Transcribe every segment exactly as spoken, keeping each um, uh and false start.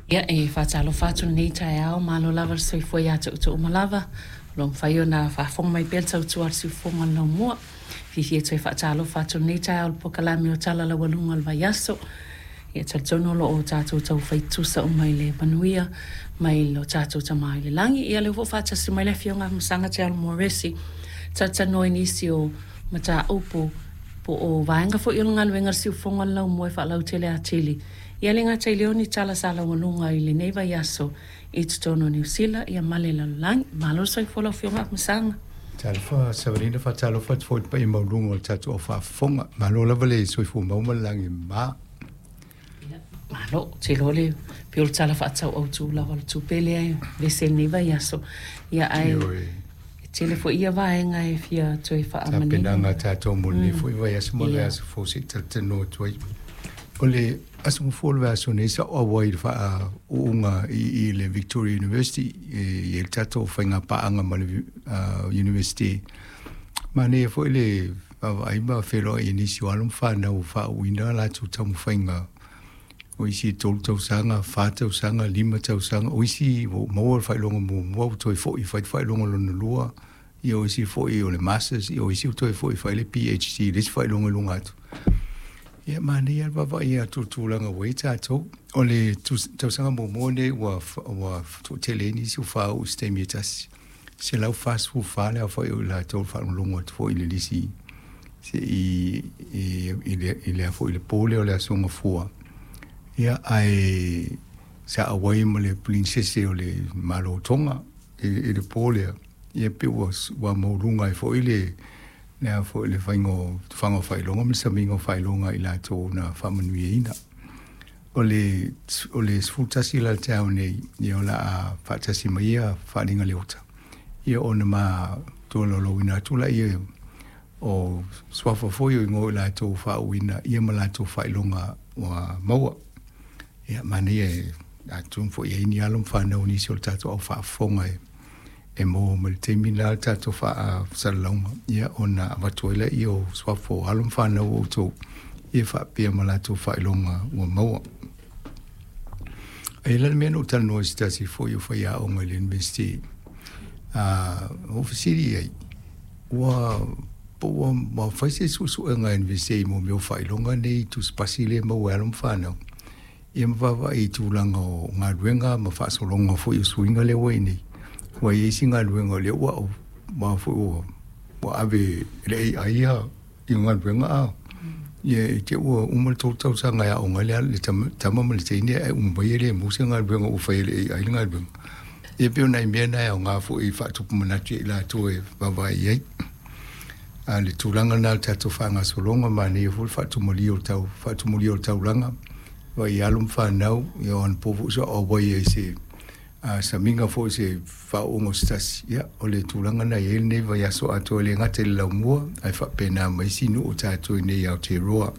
Ia, e faatalofa atu lenei taeao, malo lava le soifua ia te outou uma lava. O lo o mafai ona faafofoga mai pea le tautua a le siufofoga o le laumua. Fiafia e toe faatalofa atu lenei taeao i le polokalame o Tala Laualuga o le Vaiaso. Ia, talitonu o lo o tatou taufai tutusa uma i le manuia mai lo tatou Tama i le lagi. Ia, lea foi faatasi mai le Afioga Afamasaga Te Resi, talatalanoa i nisi o mataupu po o vaega foi o le galuega a le siufofoga o le laumua e faalautele atili. Ia le gata i lea o ni tala sa laualuga i lenei vaiaso i totonu o Niu Sila ia ma le lalolagi. Malo le soifua lau Afioga Afamasaga. Talofa Savalina, faatalofa atu foi i le paia maualuga o le tatou au faafofoga. Malo lava le soifua maua ma le lagi mama. Malo, ou te iloa le pei o le Tala Faatatau Autu lava o le Tupe lea e vese i lenei vaiaso. Ia ae e tele foi ia vaega e fia toe faamanino. Tapenaga a tatou mo lenei foi vaiaso ma le vaiaso fou se i talatalanoa atu ai. O le aso gafua o le vaiaso nei sa ou auai i le faauuga i i le Victoria University e i ai le tatou faigapaaga ma le University. Manaia foi le vaavaai ma feiloai i nisi o alo ma fanau ua faauuina a latou taumafaiga, o isi e tolu tausaga, fa tausaga, lima tausaga, o isi ua maua le faailoga muamua ua toe foi e fai le faailoga lona lua, ia o isi foi o le Masters, ia o isi ua toe foi e fai le P H D, le isi faailoga i luga atu. Ia, manaia le vaavaai atu i le tulaga ua i ai tatou. O le tausaga muamua lenei ua ua toatele ai nisi ua faauu i se taimi e tasi. Selau fasefulu fa le aofai o i latou i le faalogologo atu foi i le lisi se i i le i le foi i le po lea o le Aso Gafua. Ia, ae sa auai ma le Prinsese o le Malo o Toga i, i le po lea. Ia pe ua ua maualuga ai foi le le foi le faiga o tufaga o faailoga ma le samiga o faailoga i latou na faamanuiaina. O le o le sefulu tasi la le taeao nei, ia o le a faatasi mai ia Faaaliga Leota, ia ona ma tolaulauina atu laia o suafa foi o igoa o i latou faauuina ia ma latou faailoga ua maua. Ia, manaia e atonu foi e i ai ni alo ma fanau o nisi o le tatou au faafofoga e e maua mai le taimi la le tatou faasalalauga, ia ona avatu ai lea o suafa o alo ma fanau o outou ia faapea ma latou faailoga ua maua. Ae la le mea na ou talanoa i se tasi foi o faiaoga i le University, a ou fesili i ai, ua po ua ua fai se suesuega a le University mo mea o faailoga nei tusipasi lea e maua e alo ma fanau, ia ma vaavaai i tulaga o galuega ma faasologa foi o suiga lea ua i ai nei. Ua i ai isi galuega o lea ua ua foi ua ua ave e le A I ia i galuega a ia i te ua uma le tolu tausaga e aoga ai le le tama ma le teine ae uma mai e le maua se galuega ua fai e le A I le galuega. Ia pei o nai mea na e aoga foi e faatupu manatu ia i latou e vaavaai i ai. A le tulaga lena o le tatou faagasologa, manaia foi le faatumalia o le tau faatumulia o le taulaga, vaai i alo ma fanau. Ia o anapo foi sa ou auai ai i se samiga foi se faauuga o se tasi. Ia o le tulaga na i ai lenei vaiaso atoa, e le gata i le laumua ae faapena ma isi nuu o tatou i nei i Aotearoa.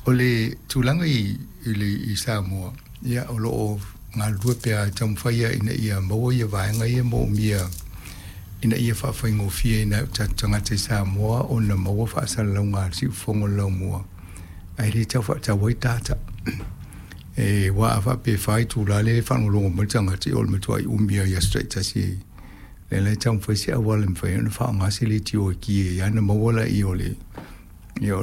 O le tulaga i i le i Samoa, ia o lo o galulue pea e taumafai ia ina ia maua ia vaega ia moomia ina ia faafaigofie i nai o tatou tagata i Samoa ona maua faasalalauga a le siufofoga o le laumua, ae le tau faatau ai data. E aua a faapea e fa itula lea e faalogologo mai le tagata, o le matuai umi lava i aso taitasi. Lea la e taumafai se auala e mafai ai ona faaaoga se leitio e ki ai lava ona maua lea o le ia